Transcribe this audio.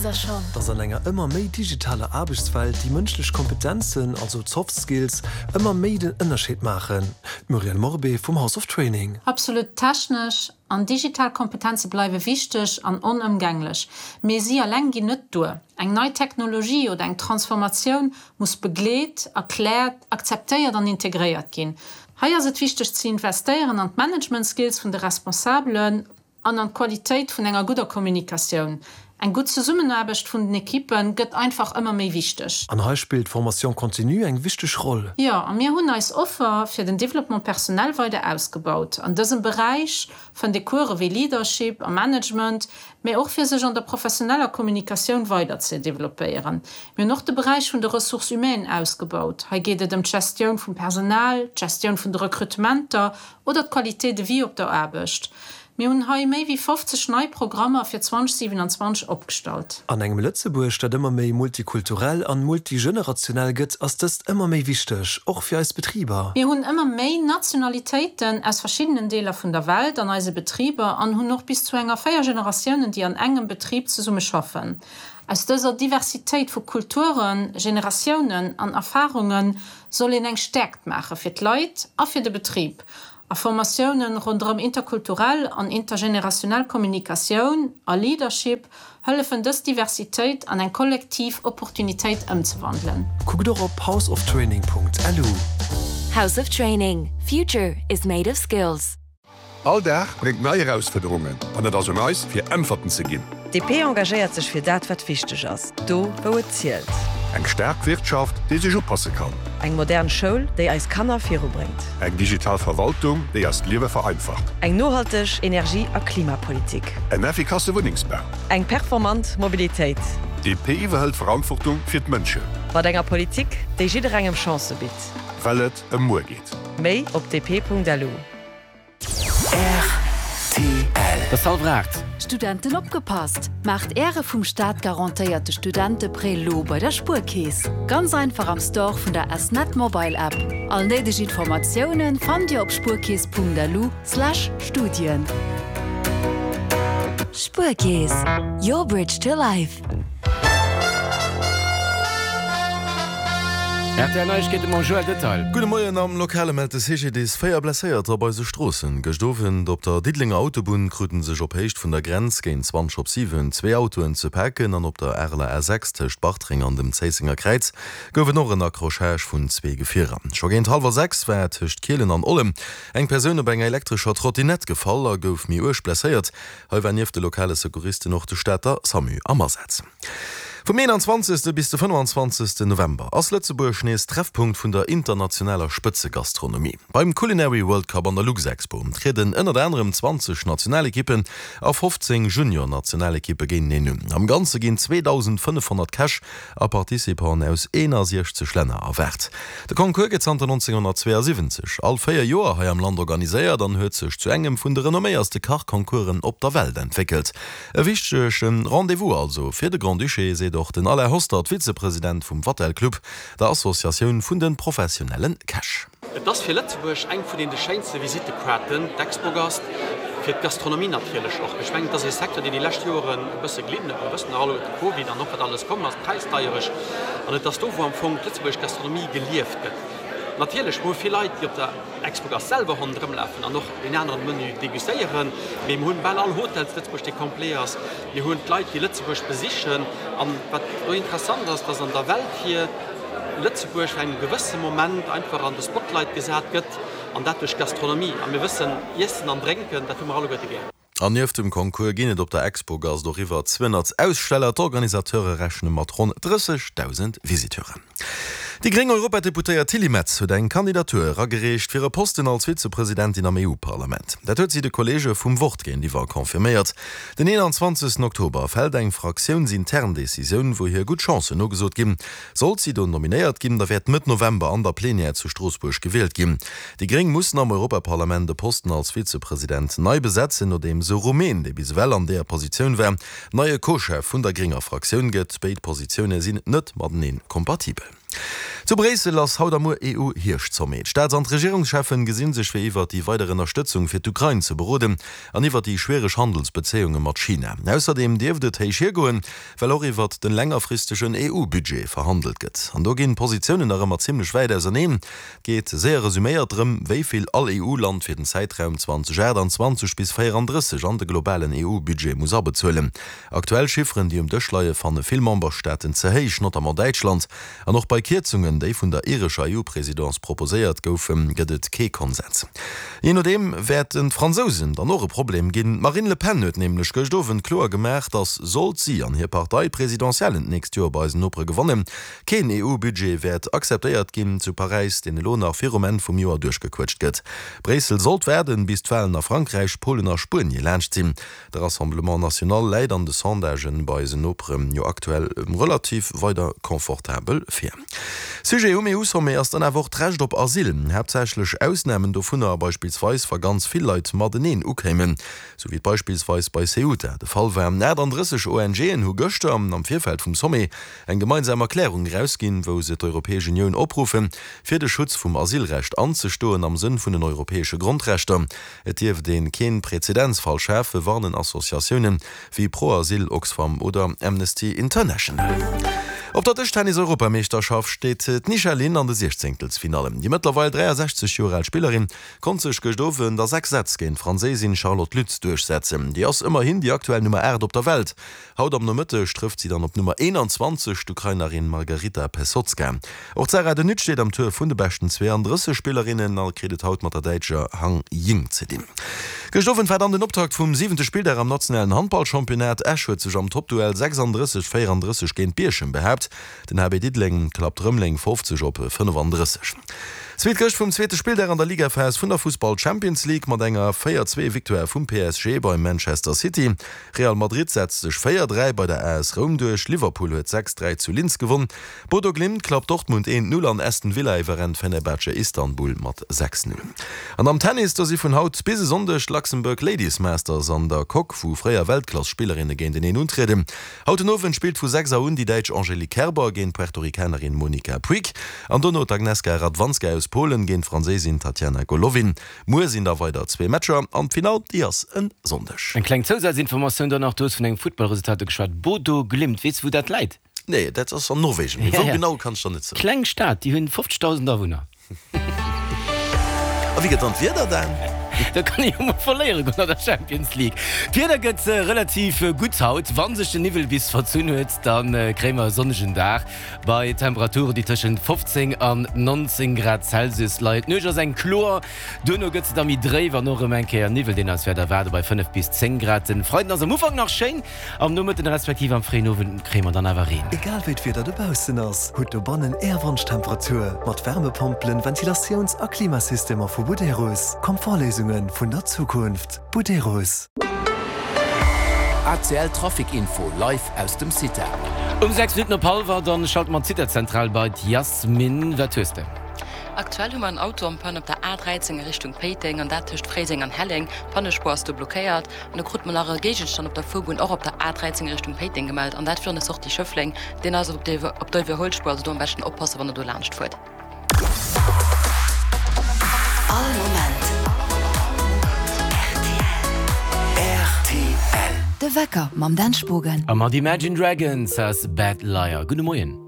der schonn? Dass an enger ëmmer méi digitaler Aarbechtswelt déi mënschlech Kompetenzen, also d'Soft Skills, ëmmer méi den Ënnerscheed maachen. D'Muriel Morbé vum House of Training. Absolut, technesch an digital Kompetenze bleiwe wichteg an onëmgänglech, mee si eleng ginn net duer. Eng nei Technologie oder eng Transformatioun muss begleet, erkläert, akzeptéiert an integréiert ginn. Hei ass et wichteg ze investéieren an d'Management-Skills vun de Responsabelen an an d'Qualitéit vun enger gudder Kommunikatioun. Eng gutt Zesummenaarbecht vun den Ekippe gëtt einfach ëmmer méi wichteg. An hei spillt d'Formation continue eng wichteg Roll. Jo, a mir hunn eis Offer fir den Développement personnel weider ausgebaut. An dësem Beräich fënnt ee Course wéi Leadership a Management, mä och fir sech an der professioneller Kommunikatioun weider ze developpéieren. Mir hunn och de Beräich vun de Ressources humaines ausgebaut. Hei geet et ëm d'Gestioun vum Personal, d'Gestioun vun de Recrutementer oder d'Qualité de vie op der Aarbecht. Mir hunn hei méi wéi 50 nei Programmer fir 2027 opgestallt. An engem Lëtzebuerg, dat ëmmer méi multikulturell an multigenerationell gëtt, ass dëst ëmmer méi wichteg, och fir eis Betriber. Mir hunn ëmmer méi Nationalitéiten aus verschiddenen Deeler vun der Welt an eise Betriber an hunn och bis zu enger 4 Generatiounen, déi an engem Betrib zesumme schaffen. Aus dëser Diversitéit vu Kulturen, Generatiounen an Erfarunge soll een eng Stäerkt maache fir d'Leit a fir de Betrib. A Formatiounen ronderëm interkulturell an intergenerationell Kommunikatioun a Leadership hëllefen dës Diversitéit an eng kollektiv Opportunitéit ëmzewandelen. Kuckt och op houseoftraining.lu. House of Training, Future is made of skills. All Dag bréngt nei Erausfuerderungen an et ass un eis, fir Äntwerten ze ginn. DP engagéiert sech fir dat, wat wichteg ass, do wou et zielt. Eng staark Wirtschaft, déi sech upasse kann. Eng modern Schoul, déi eis Kanner virubréngt. Eng digital Verwaltung, déi eist Liewe vereinfacht. Eng nohalteg Energie a Klimapolitik. En effikasse Wunnengsbau. Eng performant Mobilitéit. DP iwwerhëlt Verantwortung fir d'Mënschen. Mat enger Politik, déi jidderengem Chancë bitt. Well et ëm muer geet. Méi op dp.lu. Rtl. Et ass hallwer 8. Studenten opgepasst! Maacht Äre vum Staat garantéierte Studenteprêt lo bei der Spuerkeess. Ganz einfach am Store vun der S-Net Mobile App. All néideg Informatiounen fannt Dir op spuerkeess.lu slash Studien. Spuerkeess, your bridge to life. Rtl Neiegkeete mam Joël Detail. Gudde Moien, Am Lokale mellt de CGDIS 4 Blesséierter op eise Stroossen. Gëscht Owend op der Diddelenger Autobunn kruten sech op Héicht vun der Grenz géint 20 op 7 zwee Autoen ze paken an op der Areler A6 tëscht Bartreng an dem Zéissenger Kräiz gouf et och en Accrochage vun zwee Gefierer. Scho géint hallwer 6 war tëscht Kielen an Ollem eng Persoun op enger elektrescher Trottinett gefall a gouf méi uerg blesséiert. Hei war nieft de lokale Secouristen och de Stater Samu am Asaz. Vum 21. Bis de 25. November ass Lëtzebuerg nees Treffpunkt vun der internationaler Spëtzegastronomie. Beim Culinary World Cup an der Luxexpo trieden ënnert anerem 20 Nationalekippen a 15 Junior-Nationalekippe géinteneen un. Am Ganze ginn 2.500 Käch a Participanten aus 61 Länner erwaart. De Concours gëtt zanter 1972 all 4 Joer hei am Land organiséiert an huet sech zu engem vun de renomméierste Kachconcoursen op der Welt entwéckelt. E wichtege Rendez-vous also fir de Grand-Duché, seet och den Alain Hostert, Vizepresident vum Vatel Club, der Associatioun vun de professionelle Käch. Et ass fir Lëtzebuerg eng vun den de schéinste Visittekaarten, d'Expogast, fir d'Gastronomie natierlech och. Ech mengen, et ass ee Secteur, deen déi lescht Joren e bësse gelidden huet. Mir wëssen nach alleguerten, de Covid an och wat alles komm ass, d'Präisdeierecht. An et ass do, wou am Fong d'lëtzebuergesch Gastronomie gelieft gëtt. Natierlech, mir hu vill Leit, déi op der Expogast selwer ronderëmlafen an och deen aneren Menu degustéieren. Mee mir hunn bal all Hotel zu Lëtzebuerg, dee complet ass. Mir hunn d'Leit, déi Lëtzebuerg besichen. An wat do interessant ass, dass an der Welt hier Lëtzebuerg vun engem gewësse Moment einfach an de Spotlight gesat gëtt, an dat duerch d'Gastronomie. A mir wëssen, Iessen an Drénken, dat hu mer alleguerte gär. An nieft dem Concours ginn et op der Expogast och iwwer 200 Aussteller. D'Organisateure rechne mat ronn 30.000 Visiteuren. Déi gréng Europadeputéiert Tilly Metz huet eng Kandidatur eragereecht fir e Posten als Vizepresidentin am EU-Parlament. Dat huet si de Kolleege vum Wort géintiwwer confirméiert. Den 21 Oktober fält eng fraktiounsintern Decisioun, wou hir gutt Chancen nogesot ginn. Sollt si do nominéiert ginn, da wäert Mëtt November an der Plenière zu Stroossbuerg gewielt ginn. Déi Gréng mussen am Europaparlament e Posten als Vizepresident nei besetzen, nodeems e Rumän, dee bis ewell an deeër Positioun war, Neie Co-Chef vun der grénger Fraktioun gëtt. Béid Positioune sinn net matenee kompatibel. Zu Bréissel ass haut a muer EU-Hierscht-Sommet. D'Staats an d'Regierungscheffen gesinn sech fir iwwert déi weider Ënnerstëtzung fir d'Ukrain ze beroden an iwwert déi schwiereg Handelsbezéiunge mat China. Ausserdeem dierft et héich hiergoen, well och iwwert den längerfristegen EU-Budget verhandelt gëtt. An do ginn d'Positiounen nach ëmmer zimmlech wäit auserneen. Et geet, séier resuméiert, drëm, wéi vill all EU-Land fir den Zäitraum 2028 bis 34 an de globalen EU-Budget muss abezuelen. Aktuell Chifferen, déi um Dësch leie, fanne vill Memberstaaten ze héich, notamment Däitschland. An och bei Kierzungen, déi vun der irescher EU-Presidence proposéiert goufen, gëtt et kee Konsens. Jee nodeem wäerten d'Fransousen dann och e Problem ginn. D'Marine Le Pen huet nämlech gëscht Owend kloer gemaach, datt, sollt si an hir Partei d'Presidentiellen d'nächst Joer bei eisen Nopere gewannen, keen EU-Budget wäert akzeptéiert ginn zu Paräis, deen elo nach virum Enn vum Joer duerchgequëtscht gëtt. Bréissel sollt waarden, bis d'Walen a Frankräich, Polen a Spuenie laanscht sinn. De Rassemblement National läit an de Sondagen bei eisen Nopere jo aktuell relativ weider confortabel vir. Sujet um EU-Sommet ass dann awer och d'Recht op Asyl. Haaptsächlech Ausnamen dovunner, beispillsweis wa ganz vill Leit mateneen ukéimen, sou wéi et beispillsweis bei Ceuta de Fall war. 38 ONGen hu gëschter am Virfeld vum Sommet eng gemeinsam Erklärung erausginn, wou se d'Europäesch Unioun opruffen, fir de Schutz vum Asylrecht anzestoen am Sënn vun den europäesche Grondrechter. Et dierft ee keen Präzedenzfall schafen, warnen Associatiounen wéi Pro-Asyl, Oxfam oder Amnesty International. Op der Dëschtennis-Europameeschterschaft steet d'Nisha Lin an de Siechzéngtelsfinallen. Déi mëttlerweil 63 Joer al Spillerin konnt sech gëscht Owend a 6 Sätz géint d'Franséisin Charlotte Lutz duerchsetzen. Déi ass ëmmerhin déi aktuell Nummer 8 op der Welt. Haut am Nomëtteg trëfft si dann op d'Nummer 21, d'Ukrainerin Margaryta Pesotska. Och d'Sarah De Nutte steet am Tour vun de beschten 32 Spillerinnen a kritt et haut mat der Däitscher Hang Ying ze dinn. Gëscht Owend war dann den Optakt vum siwente Spilldag am nationalen Handballchampionnat. Esch huet sech am Toppduell 36, 34 géint Bierchem behaapt. Den HB Diddeleng klappt Rëmeleng 50 op 35. Zweet Gëscht vum zweete Spilldag an der Ligaphas vun der Fussball-Champions League mat enger 4, 2 Victoire vum PSG bei Manchester City. Real Madrid setzt sech 4, 3 bei der AS Roum duerch, Liverpool huet 6, 3 zu Linz gewonn, Bodo Glimt klappt Dortmund 1, 0 an Aston Villa iwwerrennt Fenerbahce Istanbul mat 6, 0. An am Tennis, do si vun haut bis e Sonndeg d'Luxembourg Ladies Masters an der Coque, wou fréier Weltklass-Spillerinne géinteneen untrieden. Haut den Owend spillt vu 6 Auer un déi Däitsch Angelique Kerber géint d'Puerto-Ricanerin Monica Puig an dono d'Agnieszka Radwanska aus Polen géint d'Franséisin Tatiana Golovin. Muer sinn da weider zwee Matcher an d'Finall déi ass en Sonndeg. Eng kleng Zousazinformatioun dann nach, du hues vun engem Futtballresultat do geschwat, Bodo Glimt, weess de wou dat läit? Nee, dat ass an Norwegen, mee wou genau kann ech der net soen. Kleng Stad, déi hunn 50.000 Awunner. A wéi gëtt dann d'Wieder, Dan? Da kann ee jo mol verléiere goen an der Champions League. D'Wieder gëtt relativ gutt haut, wann sech den Niwwel bis verzunn huet, da kréie mer e sonnegen Dag. Bei Temperaturen, déi tëschent 15 an 19 Grad Celsius leien. D'Nuecht ass eng kloer, duerno gëtt se da méi dréif an och erëm eng Kéier Niwwel, deen eis wäert erwaarde bei 5 bis 10 Grad. Den Freiden ass am Ufank nach schéin, am Nomëtten respektiv am fréien Owend kréie mer dann awer Reen. Egal wéi d'Wieder dobaussen ass, hutt dobannen Är Wonschtemperatur mat Wärmepompelen, Ventilatiouns a Klimasystemer vu Buderus. Komfortléisunge vun der Zukunft. Buderus. ACL Trafic Info live aus dem CITA. Um 6 Minutten op hallwer, dann schalte mer d'Cita-Zentral bei d'Yasmine. Wat hues de? Aktuell hu mer en Auto en Panne op der A13 a Richtung Péiteng, an dat tëscht Fréiseng an Helleng. D'Pannespuer ass do blockéiert. An do krute mer nach e Géigenstand op der Fuerbunn, och op der A13 a Richtung Péiteng gemellt, an dat virun der Sortie Schëffleng. Deen ass op der Iwwerhuelspuer, also do am beschten oppassen, wann der do laanscht fuert. All Moment rtl. De Wecker mam Dan Spogen. A mat Imagine Dragons ass Bad Liar. Gudde Moien.